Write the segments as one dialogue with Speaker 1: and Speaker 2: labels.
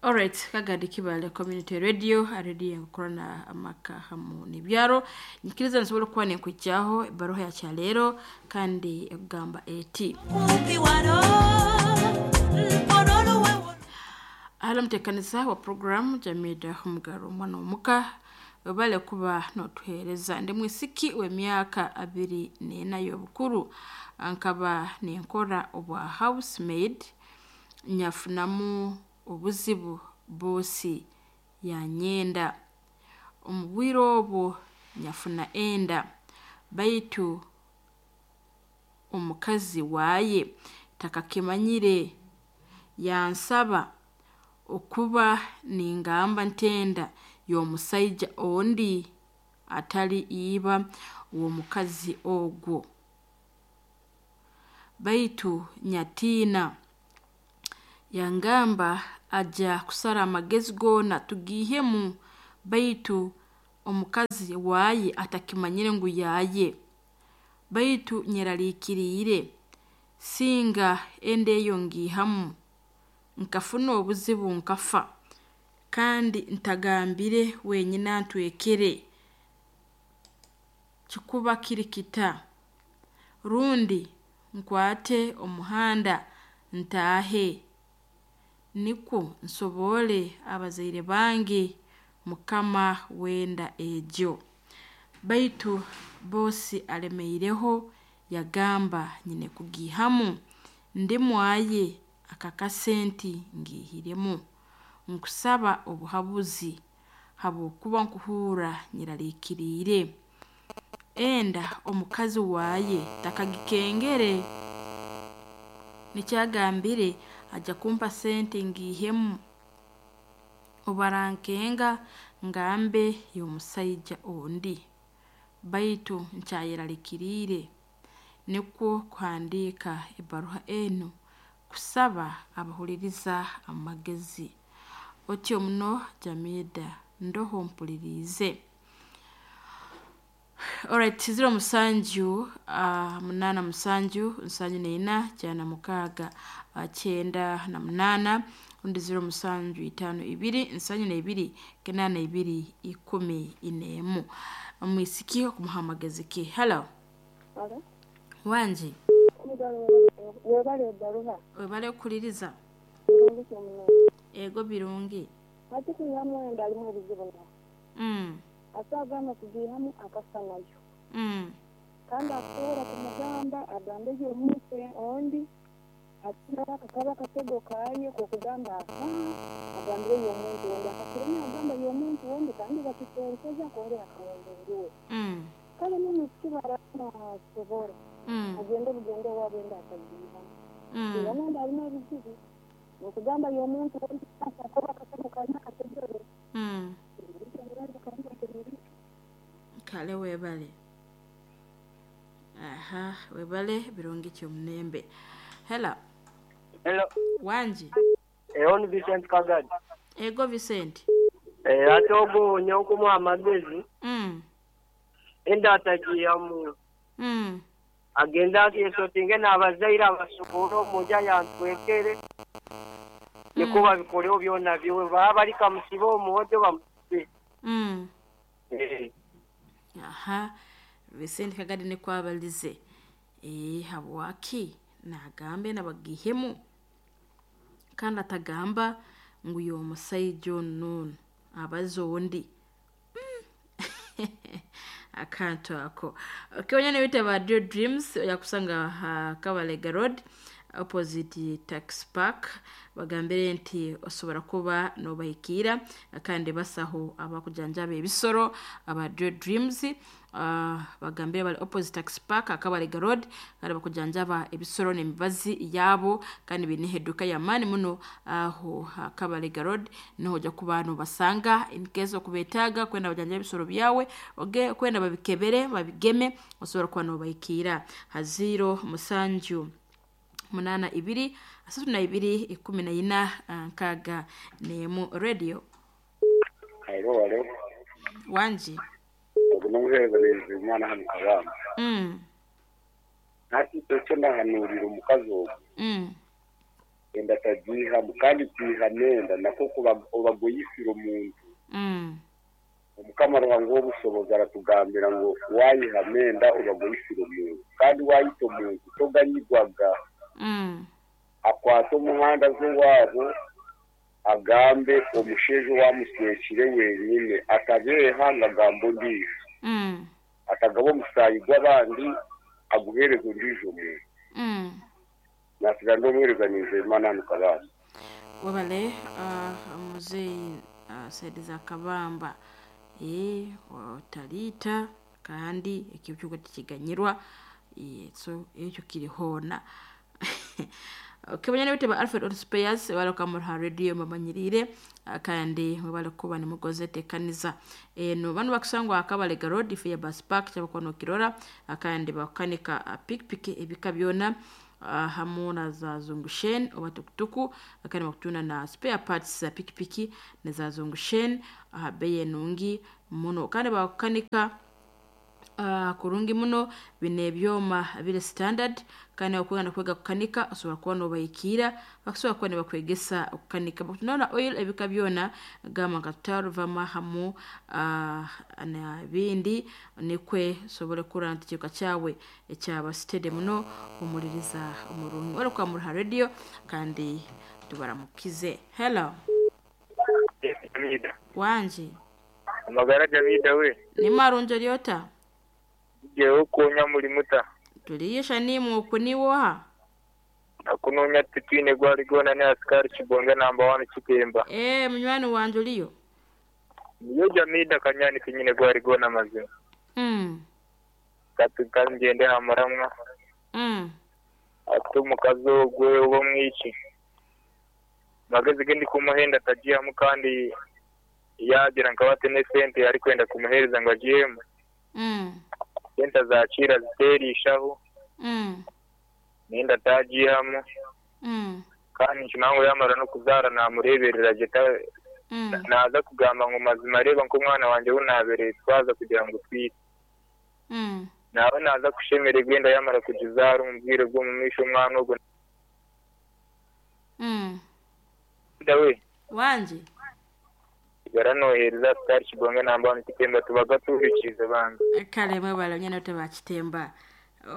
Speaker 1: Alright, Kagadi Kibale Community Radio, radio enkorana amaka hamu n'ebyaro. Nyikiriza nsobora okuba nenkwijjaho ebbaruha ya kyaleero kandi ekugamba eti. Hali omuteekaniza wa program Jamida Omugaru omwana omuka webale kuba n'otuheereza. Ndi mwisiki w'emyaka 24 y'obukuru, nkaba ninkora obwa housemaid, nyafunamu obuzibu boosi yanyenda. Omu bwire obwo nyafuna enda, baitu omukazi waaye takakimanyire, yansaba okuba ningamba ntenda y'omusaija ondi atali iba w'omukazi ogwo. Baitu nyatiina, yangamba aja kusara amagezi goona tugiihemu, baitu omukazi waaye atakimanyire ngu yaaye. Baitu nyeraliikiriire, singa enda eyo ngiihamu, nkafuna obuzibu nkafa, kandi ntagambire wenyine antwekere, kikuba kiri kita? Rundi nkwate omuhanda ntaahe, nikwo nsobole abazaire bange mukama w'enda egyo. Baitu boosi alemeireho yagamba nyine kugiihamu, ndi mwaye akakase nti ngiihiremu. Nkusaba obuhabuzi habwokuba nkuhurra nyeraliikiriire. Enda omukazi waaye takagikengere. Nikyo agambire aja kumpa sente ngiihemu, obu arankenga ngambe y'omusaija ondi. Baitu nkyayeraliikiriire, nikwo kuhandiika ebbaruha enu kusaba abahuliriza amagezi. Otyo muno Jamida ndoho mpuliriize. Alright, 07 87 74 96 98 rundi 07 52 72 82 11. Omwisiki okumuha amagezi ki? Hello.
Speaker 2: Halo.
Speaker 1: Wangi.
Speaker 2: Omugabe webale ebbaruha.
Speaker 1: Webale kukuliriza.
Speaker 2: Birungi ki omuno?
Speaker 1: Ego birungi.
Speaker 2: Hati kwihamu enda alimu ebizibu naho. Ate agamba kugiihamu akafa nayo. Kandi akusobora kumugamba agambe y'omuntu ondi, ate nawe akakaba akatego kaye k'okugamba aha agambire y'omuntu ondi. Akakiremya agamba y'omuntu ondi kandi bakisonseza akongera akamwenda ondi we. Kale n'omwisiki bw'araba nasobora, agende bugende owaabu enda atagiihamu. Kwihamu enda alimu ebizibu, n'okugamba y'omuntu ondi akoba akatego kaye akategere.
Speaker 1: Kale webale. Aha, webale birungi ki omunembe. Hello.
Speaker 3: Hello.
Speaker 1: Wangi.
Speaker 3: Eho ni Vincent Kagadi.
Speaker 1: Ego Vincent.
Speaker 3: Eh, ate ogwo nyowe nkumuha amagezi enda atagiihamu. Agende akesotinge n'abazaire abasukure omunju ayantwekere nikwo babikoreho byona byowe baba bari kamusibe omuhojo bamusibe.
Speaker 1: Aha, Vincent Kagadi nikwo abalize. Habwaki nagambe nabagihemu kandi atagamba ngu y'omusaija onu n'onu abaza ondi. Akantu ako. Okay, onyana bita ba Dio Dreams oyakusanga ha Kabalega Road opposite Tax Park, bagambire nti osobola kuba nobahikiira kandi basaho abakujanjaba ebisoro aba Dio Dreams. Bagambire bali opposite Tax Park Kabalega Road, kandi bakujanjaba ebisoro n'emibazi yabo, kandi biine eduka y'amaani muno aho Kabalega Road, niho ojja kuba nobasanga in case okubetaaga kwenda bajanjabe ebisoro byawe, oge kwenda babikebere babigeme, osobola kuba nobahikiira ha 0 7 82 32 14 61 radio.
Speaker 4: Halo, halo.
Speaker 1: Wangi.
Speaker 4: Ogu n'omuheereza omwana hano Kabamba. Hati ekyo ndahanuurira omukazi ogwo. Enda tagiihamu kandi kwihamu enda nakwo kuba obagoyisire omuntu. Omukama Ruhanga w'obusobozi aratugambira ngu wayihamu enda obagoyisire omuntu kandi wayita omuntu toganyigwaga. Akwata omuhanda z'owaabo agambe omusheija owamuswekire wenyine atabeeha ngagamba ondiijo. Atagaba omusaayi gw'abandi aguheereza ondiijo omuntu. Nasigara ndi omuheereza Nizeyimana hanu Kabamba.
Speaker 1: Webale muzeeyi saidi za Kabamba. Otaliita kandi ekyo tikiganyirwa, so ekyo kiri hoona. Okay, banyana ba Alfred Auto Spares bali ha radio mbamanyirire kandi mwebale kuba nimugoze tekaniza eno bano bakusangwa Akabalega Road Fair Bus Park kyabakuba nokirora, kandi bakukanika pikipiki ebika byona, hamu na za zungushen oba tukutuku, kandi bakutunda na spare parts za pikipiki neza zungushen aha bei enungi muno, kandi bakukanika kurungi muno bine ebyoma biri standard, kandi okwenda kwega kukanika osobola kuba nobahikiira bakusobola kuba nibakwegesa okukanika. Bakutunda oil ebika byona gamba nka Total, Vama hamu na bindi, nikwe osobole kurora nti ekiruka kyawe ekyaba steady muno. Omuliriza omurungi wali kwa Muruha Radio kandi tubaramukize. Hello.
Speaker 5: Jamida.
Speaker 1: Wanje.
Speaker 5: Amagara Jamida we.
Speaker 1: Ni marunjo lyota.
Speaker 5: Jewe okuonya muri muta.
Speaker 1: Tuliyesha nimu okuniwoha.
Speaker 5: Akunonya tutwine gwali gona ne askari Kibonge namba 1 Kitemba.
Speaker 1: Munywani wanje oliyo.
Speaker 5: Niyo Jamida kanyani kinyine gwali gona mazima. Kati kanjende hamuramwa. Ati omukazi ogwe oba mwiki. Magezi gendi kumuhenda tajiyamu kandi yagira nkabate ne sente ari kwenda kumuhereza ngo agiyemu. Sente zakira ziterishaho. Nenda tajiyamu. Kandi nkinango yamara no kuzara namureberera jeta. Naza kugamba ngo mazima reba nko mwana wanje unabereye twaza kugira ngo twite. Nawe naza kushemere gwenda yamara kugizara umubwire bwo mumisho umwana ubwo. Dawe.
Speaker 1: Wanje.
Speaker 5: Garanohereza askari Kibonge namba 1 Kitemba tubaga tubikiza banga.
Speaker 1: Kale mwebale nyene teba Kitemba.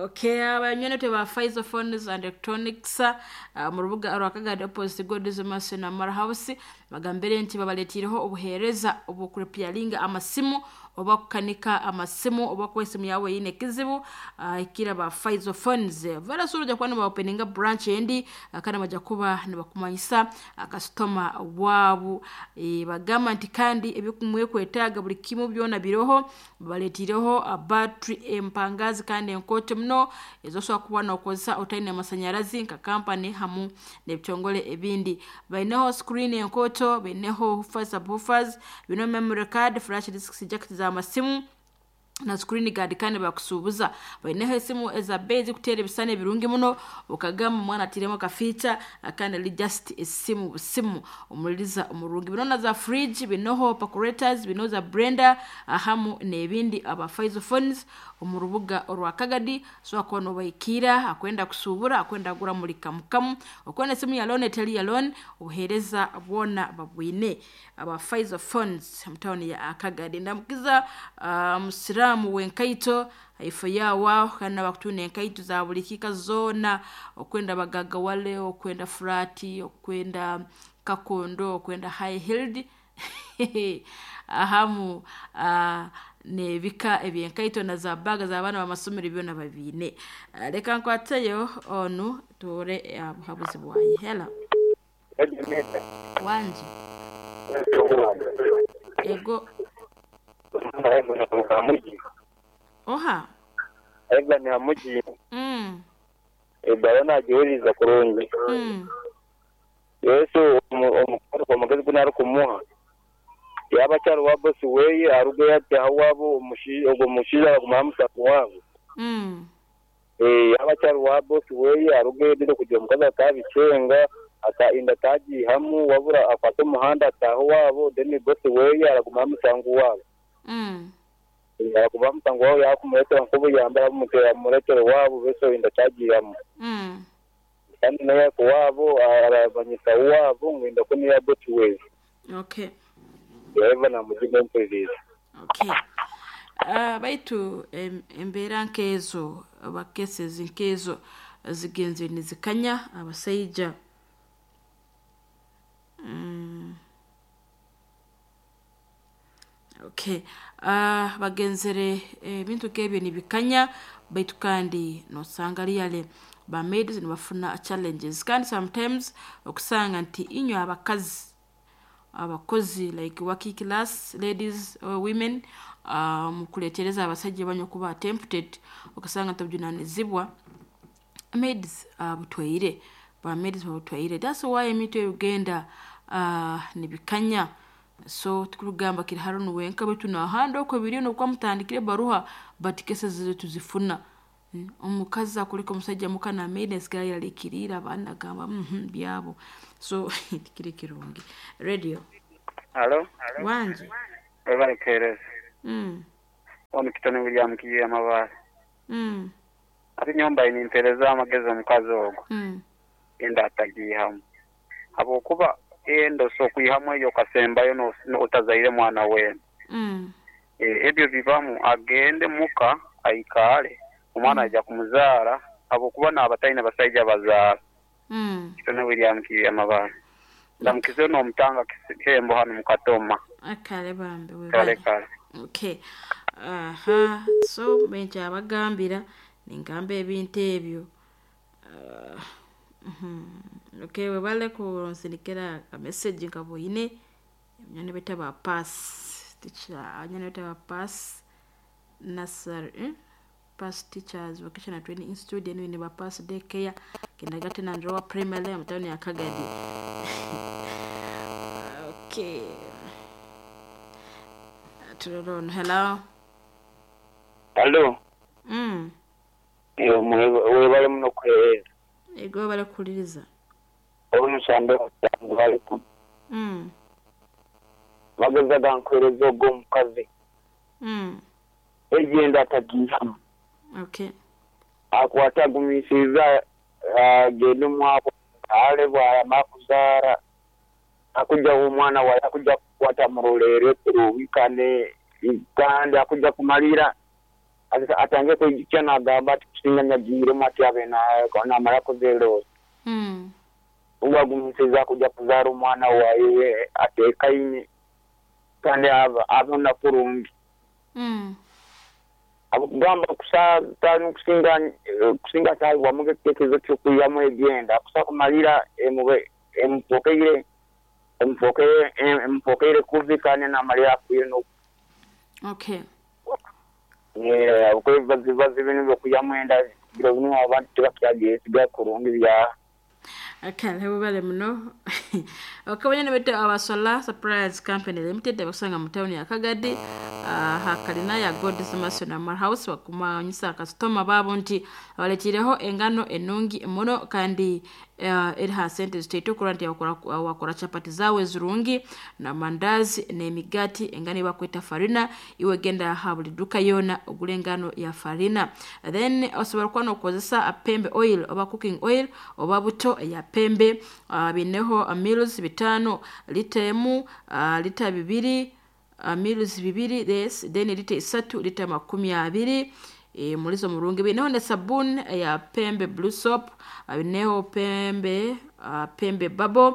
Speaker 1: Okay, abanyene teba Pfizer phones and electronics mu rubuga rwakagade opposite God's Mercy na Mara House bagambere nti babaletireho obuhereza obukurepialinga amasimu oba kukanika amasimu oba kuwa esimu yawe yine kizibu, ikira ba Pfizer phones vera suru ja kuba openinga branch endi, kana baja kuba nibakumanyisa customer wabu, bagamba nti kandi ebikumwe kwetaaga buli kimu byona biroho baletireho battery empangazi kandi enkoto muno ezosobola kuba nokozesa otaine amasanyarazi nka company hamu n'ebitongole ebindi. Baineho screen enkoto, baineho woofers, subwoofers, bino memory card, flash disks, jack za masimu na screen guard kandi bakusubuza. Baineho esimu eza base kutera ebisane ebirungi muno ukagamba mwana atiremo ka feature kandi li just esimu busimu omuliriza omurungi. Bino na za fridge, binoho percolators, bino za blender ahamu n'ebindi aba Pfizer phones omu rubuga orwa Kagadi so akono baikira akwenda kusubura akwenda gura muri kamukamu okona esimu ya loan eteli ya loan obuhereza bwona babwine aba Pfizer phones mutawuni ya Kagadi. Ndamukiza musiramu wenkaito ifo yawa kana bakutuna enkaito za buli kika zona okwenda bagaga wale okwenda frati okwenda kakondo okwenda high heeled ahamu nebika ebyenkaito na za baga za bana bamasomero byona babine. Reka nkwateyo onu tore buhabuzi bwaye. Hello. Wanje. Ego. Oha.
Speaker 5: Ega ni hamuji. Ebara nagiwuriza kurungi. Yesu omukuru omugezi gunari kumuha. Yaba cyari wa boss weye aruge yati hawabo ogo mushira baguma wabo. Yaba cyari wa boss weye aruge yedire kugira mukaza atabicenga ata inda taji hamu wabura afata umuhanda ataho wabo then boss weye araguma musangu wabo. Araguma musangu wabo yakumuretera nkubu yambara bumutera muretero wabo beso inda taji hamu.
Speaker 6: Kandi naye kuwabo arabanyisa wabo ngenda kuni abotiwe.
Speaker 1: Okay.
Speaker 6: Yeva na mujibu mpuliriza.
Speaker 1: Okay. Baitu embeera nkezo bakesezi nkezo zigenze nizikanya abasaija. Okay. Bagenzere ebintu kebyo nibikanya baitu kandi nosanga liyale ba maids nibafuna challenges kandi sometimes okusanga nti inywe abakazi abakozi like working class ladies or women mukuletereza abasajja banyu kuba tempted okusanga tabujunanizibwa maids butwaire ba maids butwaire. That's why emito Uganda nibikanya. So tukurugamba kiri harunu wenka baitu nahanda okwo biriyo nokwa mutandikire baruha but cases zetu tuzifuna. Omukazi akuleka omusajja muka na maid asigala yalikirira abaana gamba byabo. So tikiri kirungi. Radio.
Speaker 6: Hello.
Speaker 1: Wanje.
Speaker 6: Ebale kereza. Ono kitone William kiye amabale. Ati nyomba inintereza amagezi omukazi ogwo. Enda atagihamu. Abokuba endo so kuihamu eyo kasembayo no otazaire mwana we. Ebyo bibamu agende muka aikale omwana aja kumuzara abokuba n'abataine basaija bazaara. Kitone William kiye amabale. Ndamukize no mutanga kihembo hano mukatoma.
Speaker 1: Akale bambe we.
Speaker 6: Kale kale.
Speaker 1: Okay. Aha, so benja abagambira ningamba ebintu ebyo. Okay, webale kunsindikira ka message nkaboyine nyane beta ba pass teacher nyane beta ba pass nasar pass teachers vocational training institute eno ba pass daycare kindergarten and lower primary mtani ya Kagadi. Okay. Turon, hello.
Speaker 6: Hello. Yo mwebale muno kwereza.
Speaker 1: Ego bale kuliriza.
Speaker 6: Omushambe bali ku. Bageza gankwereza ogwo omukazi. Egenda atagihamu.
Speaker 1: Okay.
Speaker 6: Akwata gumisiza agende mwabo ale bwara makuzara akuja omwana wa akuja kukwata murolere kuruhikane kandi akuja kumalira atange kwijukya nagamba ati kusinga nyagire mati abe na mara kuzero. Ubagumisiza kuja kuzara omwana wawe atekaine kandi abona kurungi. Abugamba kusatanu kusinga tayi wamuge kitekezo cyo kuyamu egenda kusa kumalira emube empokeire kuvikane na malira kuyo.
Speaker 1: Okay.
Speaker 6: Yeah, bazi bintu byo kuyamwenda biro bino abantu tibakyagiye siga kurungi bya.
Speaker 1: Okay, webale muno. Okabanya nebete abasola Suppliers Company Limited abasanga mu town ya Kagadi hakalina ya God's Mercy na House bakumanyisa customer babo nti abalekireho engano enungi muno kandi eri ha sente ziteito kuranti wakora chapati zawe zirungi na mandazi n'emigati engano bakweta farina iwe genda ha buli duka yona ogule engano ya farina. Then osobola kuba nokozesa pembe oil oba cooking oil oba buto ya pembe bineho mils 5 lita emu lita 2 mils 2 yes then lita 3 lita 20 mulizo murungi. Bineho ne sabuni ya pembe blue soap, bineho pembe pembe bubble,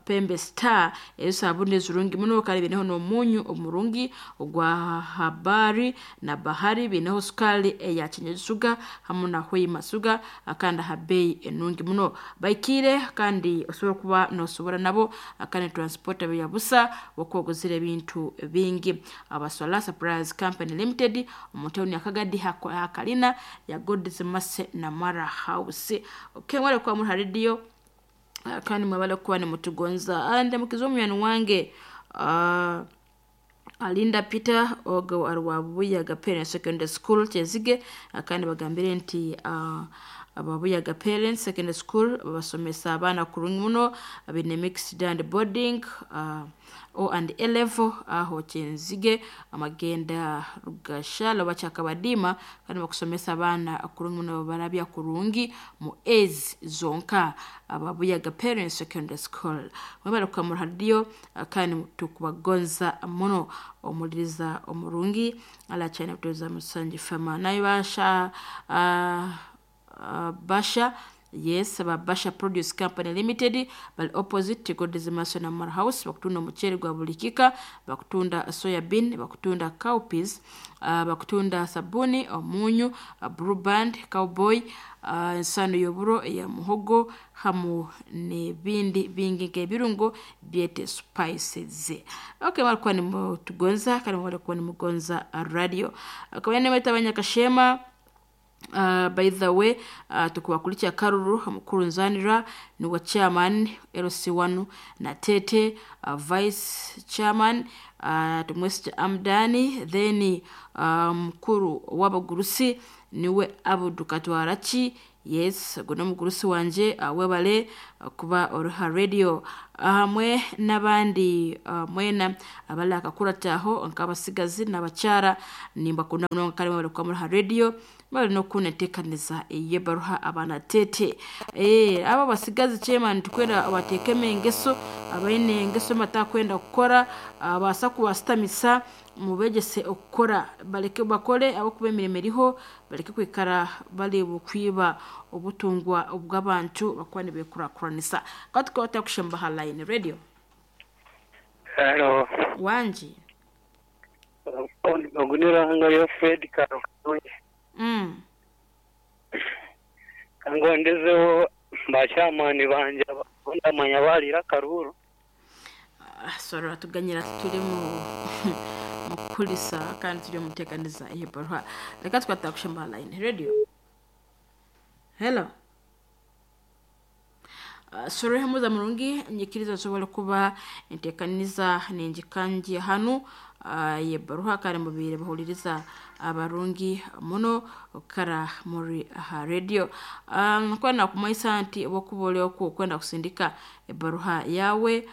Speaker 1: pembe star ezo sabuni zirungi muno kandi bineho n'omunyu omurungi ogwa habari na bahari, bineho sukali ya chenye sugar hamu na hoima sugar akanda habei enungi muno baikire kandi osobola kuba nosobora nabo akandi transporter ya busa wakwogozera ebintu bingi. Abasola Suppliers Company Limited omutawuni ya Kagadi hakalina ya God's Mercy na Mara House. Okay, mwale kwa muri radio kandi mwabale kuba ni mutugonza ande mukizo omuyani wange Alinda Peter ogo arwabuya Gapere Secondary School Kyezige kandi bagambire nti Ababuyaga Parents Secondary School babasomesa abaana kurungi muno, baine mixed and boarding, O and A level aho Kyenzige amagenda Rugashalo bakyakabadiima kandi bakusomesa abaana kurungi muno, barabya kurungi mu A's zonka. Ababuyaga Parents Secondary School mwebale kukamura radio, kandi tukubagonza muno. Omuliriza omurungi alakyalina kutuuza Musangi Fama naye basha Basha, yes, aba Basha Produce Company Limited bali opposite God's Mason Amara House, bakutunda omuceeri gwa buli kika, bakutunda soya bean, bakutunda cowpeas, bakutunda sabuni, omunyu, Blue Band, Cowboy, ensano y'oburo eya muhogo hamu n'ebindi bingi nk'ebirungo byete spices. Okay, balikuwa nimutugonza kandi balikuwa nimugonza radio. Akaba nemeta abanyakashema. By the way, tukubakulikya Karuru mukuru nzanira niwe chairman LC1 na Tete, vice chairman, tumwesije Amdani, then mukuru w'abagurusi niwe Abudu Katwaraki. Yes, guno mugurusi wanje, webale kuba oruha radio hamwe n'abandi, mwena abali akakurataho nk'abasigazi n'abakyara nimbakunda munonga kandi mwebale kuba muruha radio, bali nokunetekaniza eyebaruha abaana tete. Abo basigazi chairman tukwenda batekeme engeso, abaine engeso batakwenda kukora, baasa kubasitamisa mubegese okukora, baleke bakore abakuba emirimo eriho, baleke kwikara bali bukwiba obutungwa obw'abantu bakuba nibekurakuranisa. Kandi tukaba tutakushemba ha line radio.
Speaker 7: Hello.
Speaker 1: Wangi.
Speaker 7: Oguniranga yo Fred Karukunye. Kangondezeho bakyamani banje ndamanya balira karuru.
Speaker 1: Sorry, tuganyira turi mu mukulisa kandi turi mutekaniza eyebarwa. Reka twata kushemba line radio. Hello. Sorry hamuza murungi nyikiriza nsobole kuba entekaniza ninjikanji hanu yebaruha kandi mubire bahuliriza abarungi muno kara muri aha radio. Kwenda kumaisa nti obwokuba okwo kwenda kusindika ebaruha yawe,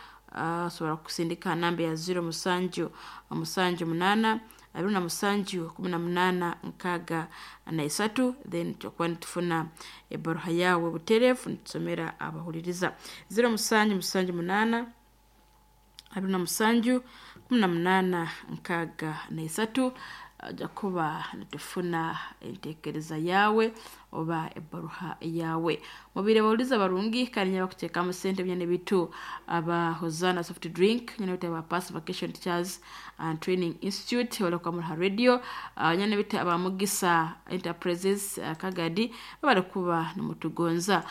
Speaker 1: sobola kusindika namba ya 0 7 7 8 27 18 63, then tukuba nitufuna ebaruha yawe buterefu nitusomera abahuliriza. 0 7 7 8 27 18 63, ajja kuba nitufuna entekereza yawe oba ebaruha yawe. Mubire bawuliza barungi kandi nyaba kuteekamu sente byane bitu aba Hosanna Soft Drink, nyane bitu aba Pass Vacation Teachers and Training Institute wala kwa muraha radio, nyane bitu aba Mugisa Enterprises, Kagadi babale kuba nimutugonza.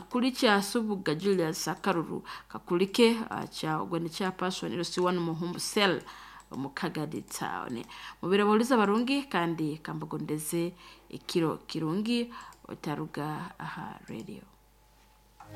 Speaker 1: Kulicha Subuga Julius Akaruru kakulike, cha ogwene cha person LC1 Muhumbu Cell mukagadi town. Mubire bawuliza barungi kandi kambagondeze ekiro kirungi otaruga aha radio.